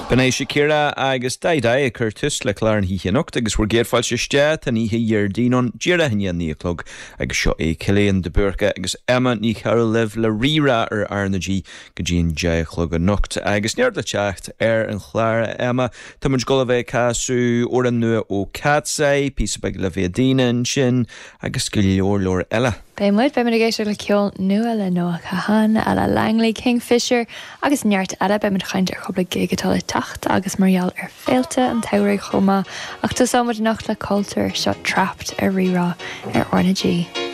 B'in é Shakira agus Dai Dai ag cur tús le clár na hoíche anocht agus bhur gcéad fáilte isteach. Tá an oíche Dhéardaoin ann, díreach i ndiaidh a 9 a chlog agus seo é Cillian de Búrca agus Emma Ní Chearúil libh le Rí-Rá ar R na G go dtí an 10 a chlog anocht. Agus neart le teacht ar an chlár, a Emma. Tá muid ag dul a bheith ag casadh amhrán nua ó Katseye, píosa beag La Via Dina ansin agus go leor leor eile. Beidh muid, beidh muid ag éisteacht le ceol nua le Noah Kahan, Ella Langley, Kingfisher agus neart eile. Beidh muid ag caint ar chúpla gig atá le teacht agus mar gheall ar féilte an tsamhraidh chomh maith. Ach tosóidh muid anocht le Cultúr, seo Trapped ar Rí-Rá ar R na G.